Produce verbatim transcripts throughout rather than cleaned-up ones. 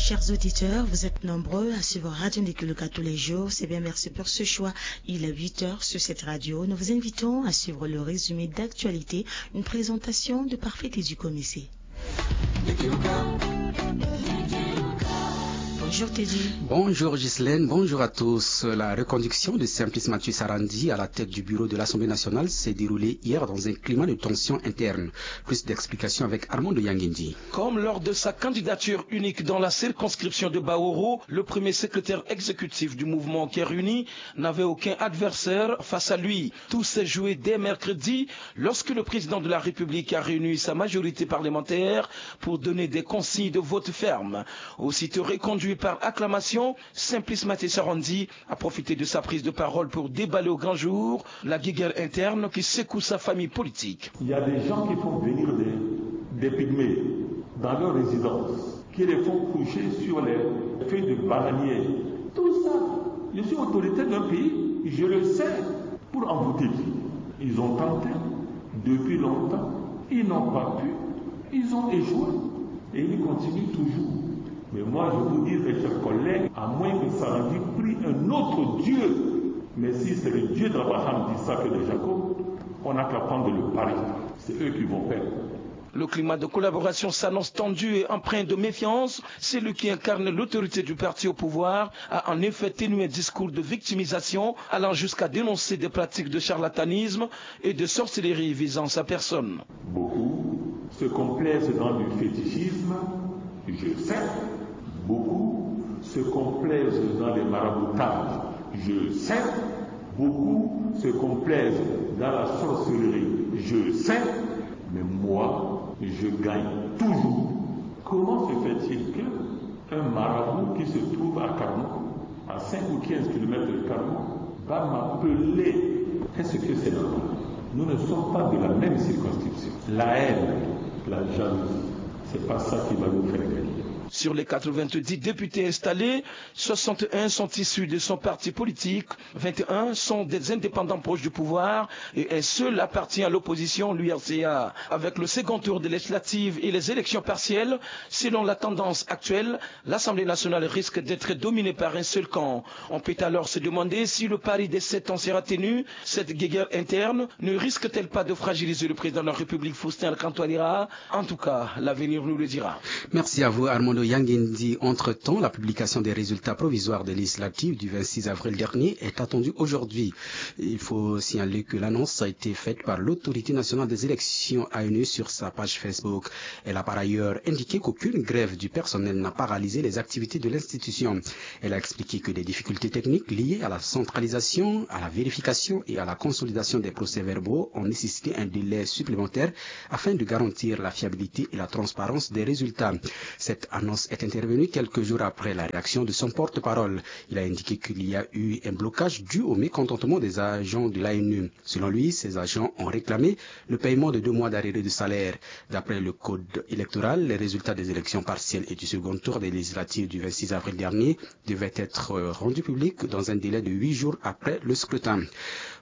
Chers auditeurs, vous êtes nombreux à suivre Radio Ndekuluka tous les jours. C'est bien, merci pour ce choix. Il est huit heures sur cette radio. Nous vous invitons à suivre le résumé d'actualité, une présentation de Parfait Teddy Komissé. Bonjour Teddy. Bonjour Ghislaine, bonjour à tous. La reconduction de Simplice Mathieu Sarandji à la tête du bureau de l'Assemblée nationale s'est déroulée hier dans un climat de tension interne. Plus d'explications avec Armando Yangindi. Comme lors de sa candidature unique dans la circonscription de Baoro, le premier secrétaire exécutif du mouvement Care Uni n'avait aucun adversaire face à lui. Tout s'est joué dès mercredi lorsque le président de la République a réuni sa majorité parlementaire pour donner des consignes de vote ferme. Aussitôt reconduit par acclamation, Simplice Mathieu Sarandji a profité de sa prise de parole pour déballer au grand jour la guéguerre interne qui secoue sa famille politique. Il y a des gens qui font venir des, des pygmées dans leur résidence, qui les font coucher sur les feuilles de bananier. Tout ça, je suis autoritaire d'un pays, je le sais, pour envoûter qui? Ils ont tenté depuis longtemps, ils n'ont pas pu, ils ont échoué et ils continuent toujours. Mais moi, je vous dis, mes chers collègues, à moins que Sarandji prie un autre Dieu, mais si c'est le Dieu d'Abraham, d'Isaac et de Jacob, on n'a qu'à prendre le pari. C'est eux qui vont perdre. Le climat de collaboration s'annonce tendu et empreint de méfiance. Celui qui incarne l'autorité du parti au pouvoir a en effet tenu un discours de victimisation allant jusqu'à dénoncer des pratiques de charlatanisme et de sorcellerie visant sa personne. Beaucoup se complaisent dans du fétichisme, je sais. Beaucoup se complaisent dans les maraboutages, je sais. Beaucoup se complaisent dans la sorcellerie, je sais. Mais moi, je gagne toujours. Comment se fait-il que un marabout qui se trouve à Carmaux, à cinq ou quinze kilomètres de Carmaux, va m'appeler? Est-ce que c'est normal? Nous ne sommes pas de la même circonscription. La haine, la jalousie, c'est pas ça qui va nous faire gagner. Sur les quatre-vingt-dix députés installés, soixante et un sont issus de son parti politique, vingt et un sont des indépendants proches du pouvoir et un seul appartient à l'opposition, l'U R C A. Avec le second tour des législatives et les élections partielles, selon la tendance actuelle, l'Assemblée nationale risque d'être dominée par un seul camp. On peut alors se demander si le pari des sept ans sera tenu. Cette guéguerre interne ne risque-t-elle pas de fragiliser le président de la République, Faustin Archange Touadéra? En tout cas, l'avenir nous le dira. Merci à vous, Armando Yangindi. Entre-temps, la publication des résultats provisoires des législatives du vingt-six avril dernier est attendue aujourd'hui. Il faut signaler que l'annonce a été faite par l'Autorité nationale des élections, A N E, sur sa page Facebook. Elle a par ailleurs indiqué qu'aucune grève du personnel n'a paralysé les activités de l'institution. Elle a expliqué que des difficultés techniques liées à la centralisation, à la vérification et à la consolidation des procès-verbaux ont nécessité un délai supplémentaire afin de garantir la fiabilité et la transparence des résultats. Cette annonce est intervenue quelques jours après la réaction de son porte-parole. Il a indiqué qu'il y a eu un blocage dû au mécontentement des agents de l'A N E. Selon lui, ces agents ont réclamé le paiement de deux mois d'arriérés de salaire. D'après le code électoral, les résultats des élections partielles et du second tour des législatives du vingt-six avril dernier devaient être rendus publics dans un délai de huit jours après le scrutin.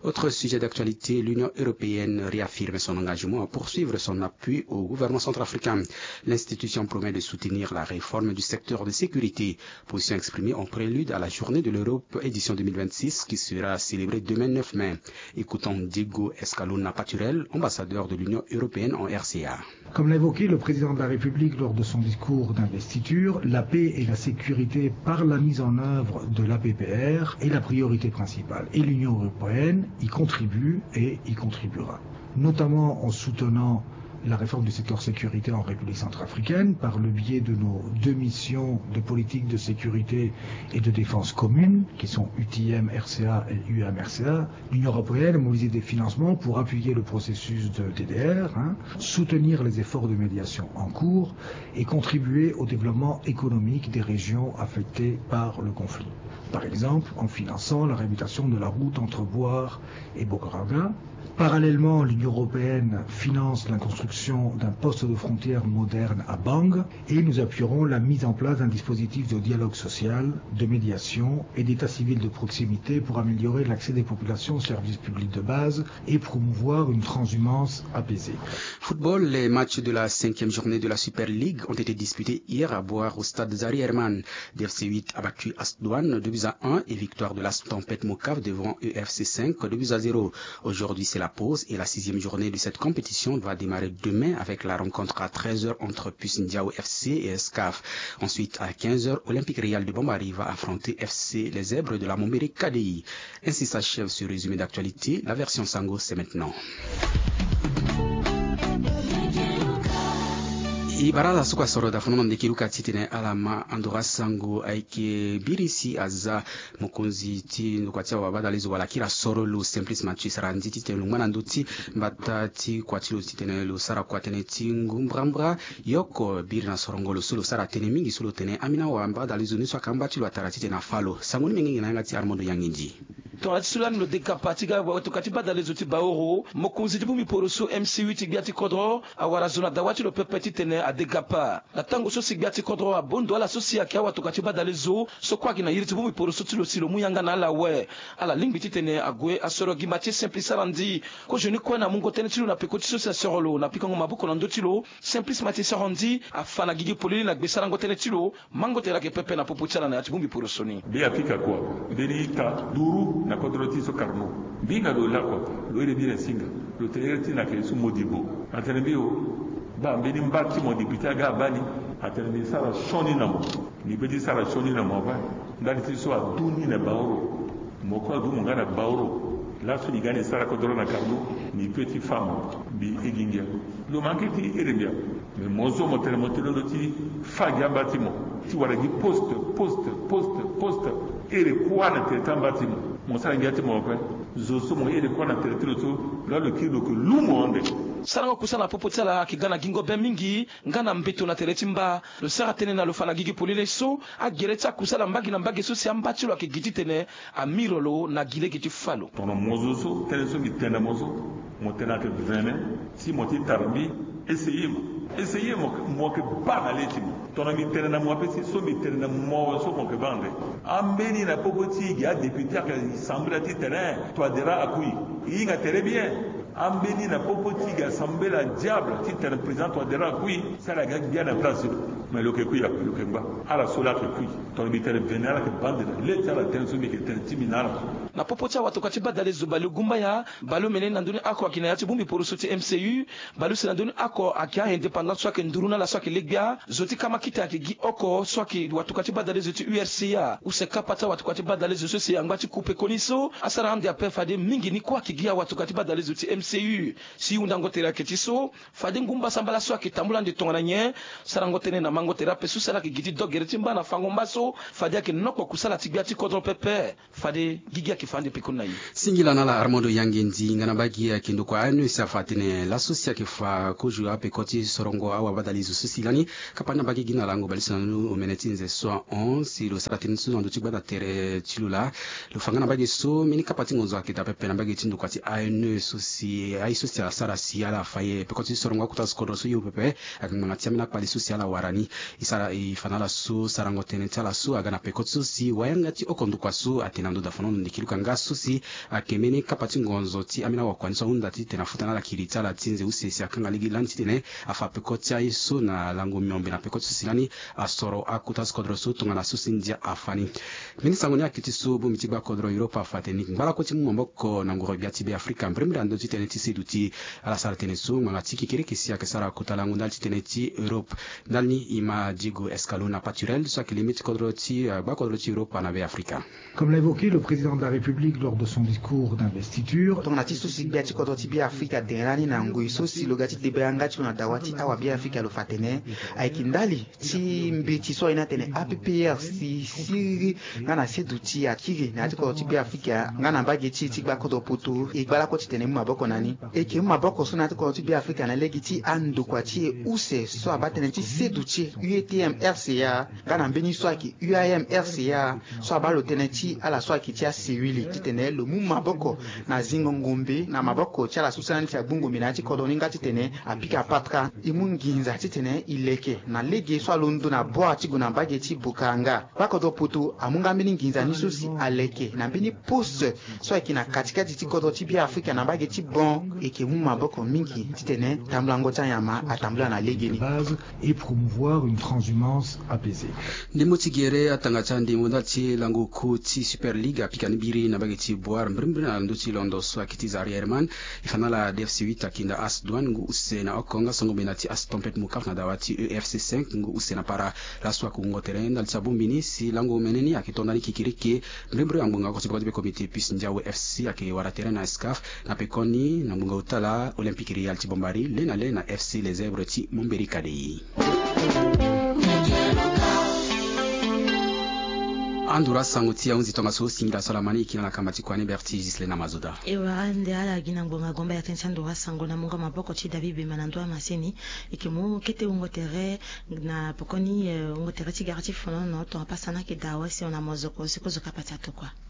Autre sujet d'actualité, l'Union européenne réaffirme son engagement à poursuivre son appui au gouvernement centrafricain. L'institution promet de soutenir la réforme du secteur de sécurité. Position exprimée en prélude à la Journée de l'Europe édition deux mille vingt-six qui sera célébrée demain neuf mai. Écoutons Diego Escalona Paturel, ambassadeur de l'Union européenne en R C A. Comme l'a évoqué le président de la République lors de son discours d'investiture, la paix et la sécurité par la mise en œuvre de l'A P P R est la priorité principale. Et l'Union européenne y contribue et y contribuera, notamment en soutenant la réforme du secteur sécurité en République centrafricaine par le biais de nos deux missions de politique de sécurité et de défense commune, qui sont U T M R C A et U M R C A. L'Union européenne a mobilisé des financements pour appuyer le processus de D D R, hein, soutenir les efforts de médiation en cours et contribuer au développement économique des régions affectées par le conflit. par exemple en finançant la réhabilitation de la route entre Bouar et Bokoraga. Parallèlement, l'Union européenne finance la construction d'un poste de frontière moderne à Bang et nous appuierons la mise en place d'un dispositif de dialogue social, de médiation et d'état civil de proximité pour améliorer l'accès des populations aux services publics de base et promouvoir une transhumance apaisée. Football, les matchs de la cinquième journée de la Super League ont été disputés hier à Bouar au stade Zari Herman. D F C huit a battu Asdouane deux buts à un et victoire de l'As Tempête Mokaf devant E F C cinq deux buts à zéro. Aujourd'hui, c'est la pause et la sixième journée de cette compétition va démarrer demain avec la rencontre à treize heures entre Puce Ndiao F C et S C A F. Ensuite, à quinze heures, Olympique Réal de Bambari va affronter F C Les Zèbres de la Mombere K D I. Ainsi s'achève ce résumé d'actualité. La version Sango, c'est maintenant. E bara ala so kua soro da fono na ndeke luka titene ala ma andora sango ayeke biri si aza mokonzi ti ndokua ti awabadalezo wala kiri asoro lo Simplice Mathieu Sarandji titene lo ngba na ndö ti mbata ti kua ti lo titene lo sara kua tënë ti ngu mbrambra. Ye oko biri na sorongo lo so lo sara tënë mingi so lo tene ambeni awabadalezo ni so ayeke amba ti lo atara titene afa lo. Sango ni mengenge na yanga ti Armando Yangindi. Tongana ti so lani lo de kapa ti ga watoka ti badalezo ti Baoro, mokonzi ti bongbi poro so M C U ti gbia ti kodro awara zo na dawa ti lo pepe titene ade kapa. Na tango so si gbia ti kodro abon ndo ala so si ayeke awatoka ti badalezo so kue ayeke na iri ti bongbi poro so ti lo si lo mu yanga na ala awe. Ala lingbi titene ague asoro gimba ti Simplice Sarandji. Kozoni kue na mungo tënë ti lo na peko ti so si asoro lo na pikango maboko na ndö ti lo, Simplice Mathieu Sarandji afa na gigi polele na gbe sarango tënë ti lo. Mango tere ayeke pepe na popo ti ala na ya ti bongbi poroso ni. Be Afrika kua, mbeni ita duru na kodro ti so Carnot. Mbi hinga lo lakua, lo iri mbi na singa, lo tene iri ti na yeke so Modibo. Atene mbi o, baa mbeni mba ti mo député aga abaa ni. Atene mbi sara sioni na mo. Mbi peut ti sara sioni na mo ape. Ndali ti so adu ni na Baoro. Mo kue adu mo nga na Baoro. Laso ni ga ni sara kodro na Carnot, ni peut ti fa mo. Mbi igi ngia. Lo manke ti iri mbi ape. Mais mo so mo tene mo tene lo ti fa gi amba ti mo ti wara gi poste, poste, poste, poste. Iri kuâ na tere ti amba ti mo. Mo sara ngia ti mo ape. Zo so mo iri kuâ na tere ti lo so, lo la lo kiri lo yeke lu mo ande. Sarango kusala na popo ti ala ayeke ga na gingo be mingi nga na mbeto na tere ti mba. Lo sara tënë na lo fa na gigi polele so agere ti akusala mbage na mbage so si amba ti lo ayeke gi titene amiro lo na gi lege ti fa lo. Tongana mo zo so tënë so mbi tene na mo so, mo tene ayeke vene, si mo ti tara mbi, essayer mo. Essayer mo, mo yeke baa na le ti mo. Tongana mbi tene na mo ape si so mbi tene na mo so mo yeke baa ande. Ambeni na popo ti e gi adéputé ayeke sambela ti tene Touadéra akui. E hinga tere bien. Ambeni na popo ti e gi asambela diable ti tene président Touadéra akui. Si ala ga gbia na place ti lo. Mais lo yeke kui ape, lo yeke ngba. Ala so la ayeke kui. Tongana mbi tene vene ala yeke baa ande na le ti ala tënë so mbi yeke tene ti mbi na ala. Na popo ti awatoka ti badalezo balegumbaya, baleomene na ndö ni oko ayeke na ya ti bongbi poroso ti M C U. Baleuse na ndö ni oko ayeke a-indépendant so ayeke nduru na ala so ayeke le gbia. Zo ti kamakita ayeke gi oko so ayeke watoka ti badalezo ti U R C A. Use kapa ti awatoka ti badalezo so si angba ti ku pekoni so asara ande ape fade mingi ni kue ayeke gi awatoka ti badalezo ti M C U. Si hundango tere ayeke ti so, fade ngu mbasambala so ayeke tambula ande tongana nyen? Sarango tënë na mango tere ape so si ala yeke gi ti do gere ti mba na fango mba so fade ayeke noko kusala ti gbia ti kodro pepe. Fade gigi ayeke fa ande pekoni na e. Singila na ala Armando Yangendi. Nga na mbage ayeke ndokua A N E si afa atene laso si ayeke fa kozo apeko ti sorongo awabadalezo so si lani kapa ni na mbage gi na lango baleuse na ndö ni omene ti nze so ahon si lo sara tënë so na ndö ti gbata tere ti lo laa. Lo fa nga na mbage so mbeni kapa ti ngonzo ayeke daa pepe na mbage ti ndokua ti A N E so si aye so si asara si ala fa ye peko ti sorongo akota so kodro so hio pepe. Ayeke ngbanga ti ambeni akpale so si ala wara ni. E sara e fa na ala so sarango tënë ti ala so aga na peko ti so si wayanga ti oko ndokua so atene na ndo dafono na ndeke luka nga so si ayeke mbeni kapa ti ngonzo ti ambeni awakua ni so ahunda titene afuta na ala kiri ti ala ti nze use si akanga lege lani titene afa peko ti aye so na lango miombe na peko ti so si lani asoro akota so kodro so tongana so si ndia afa ni. Mbeni sango ni ayeke ti so bongbi ti gba kodro Europe afa atene ni ngbalako ti mu maboko na ngoro gbia ti Be Afrika mbirimbiri na ndö ti tënë ti seduti. Ala sara tënë so ngbanga ti kekereke si ayeke sara kota lango ndali ti tënë ti Europe. Ndali ni e ma Diego Escalona Paturel so ayeke leme ti kodro ti, eh, gba kodro ti Europa na Be Afrika. Comme l'a évoqué le président de la République lors de son discours d'investiture. Tongana ti so si gbia ti kodro ti Be Afrika dene lani na ngoi so si lo ga ti debe yanga ti lo na dawa ti awa Be Afrika lo fa atene ayeke ndali ti mbeti so aye ni atene A P P R si siriri nga na seduti akiri na ya ti kodro ti Be Afrika nga na mbage ti e ti gba kodro poto e gba lakue titene e mu maboko na ni. E yeke mu maboko so na ya ti kodro ti Be Afrika na lege ti andokua ti e use so abaa tënë ti seduti. U E T M R C A, nga na mbeni so ayeke U A M R C A, so abaa lo tënë ti ala so ayeke ti asiwili titene lo mu maboko na zingo ngombe na maboko ti ala so sara ni ti agbu ngombe na ya ti kodro ni nga titene apika patara e mu nginza titene e leke na lege so alondo na bwara ti gue na mbage ti Bukanga. Gbakodro poto amu nga mbeni nginza ni so si aleke na mbeni poste so ayeke na katikati ti kodro ti Beafrika na mbage ti Bon. E yeke mu maboko mingi titene tambulango ti anyama atambula na legeni. Base et promouvoir une transhumance apaisée. Ndembo ti gere atanga ti andembo ndali ti lango kû ti Super League apika ni biri na mbage ti Bouar mbirimbiri na ndö ti londo so ayeke ti Zaria Herman. E fa na ala D F C huit ayeke nda As Douane ngu use na oko nga songo mena ti As Tempête Mokaf na dawa ti E F C cinq ngu use na para. Laso ayeke wungo tere ndali ti abongbi ni si lango omene ni ayeke to ndani kikiriki. Mbirimbiri angbonga oko ti boko ti be comité puce Ndiawu F C ayeke wara tere na Escaf. Na pekoni na ngbonga ota la Olympique Real ti Bombari le na le na F C Les Zèbres ti Momberi Kadei. Andura sango ti ahunzi tongaso singila so ala ma ni e kiri na kamba ti kua ni Berti Gislena Mazoda. E wara nde ala gi na ngbonga gomba ya tënë ti andura sango na mungo maboko ti David Bemba na ndö amaseni. E yeke mu kete wungo tere na pokoni wungo tere ti gara ti fonono tongana pasa na yeke daa wasi ona mozoko si kozo kapa ti atokua.